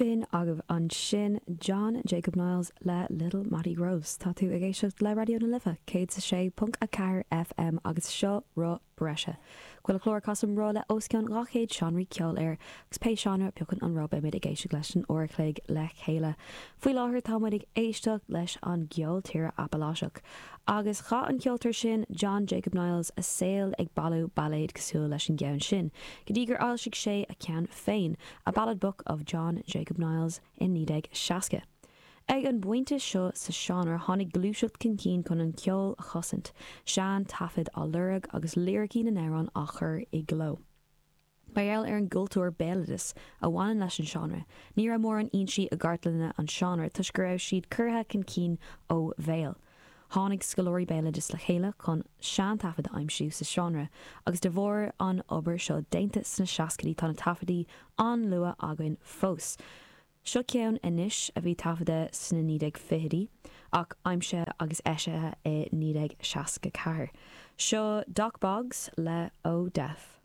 B'in agaibh ansin John Jacob Niles le Little Mattie Groves. Tá tú ag éisteacht le Raidió na Life 106.4 FM agus seo Roth Breise. Chuile chlár casaim roth le os cionn 200 seánraí ceoil air agus pé seánra a phiocann an roth beimid ag éisteacht leis don uair a chloig le chéile. Faoi láthair tá muid ag éisteacht leis an gceol tíre Apaláiseach. Agus chaith an ceoltóir sin, John Jacob Niles, a saol ag bailiú bailéad cosúil leis an gceann sin, go dtí gur fhoilsigh sé a cheann féin, A Ballad Book of John Jacob Niles, i 1960. Ag an bpointe seo sa seánra tháinig gluaiseacht chun cinn chun an ceol a chosaint, sean-taifid á lorg agus liricí na n-amhrán á chur i gcló. Mar gheall ar an gcultúr béaloidis a bhaineann leis an seánra, ní raibh mórán fhoinsí i gcartlanna an seánra toisc go raibh siad curtha chun cinn ó bhéal. Tháinig scoláirí béaloidis le chéile chun seantaifid a aimsiú sa seánra agus de bharr an obair seo déanta sna seascaidí tá na taifeadtaí an-luath againn fós. Seo ceann anois a bhí taifeadta sna 1920idí ach aimsithe agus eisithe i 1964. Seo Dock Boggs le Oh Death.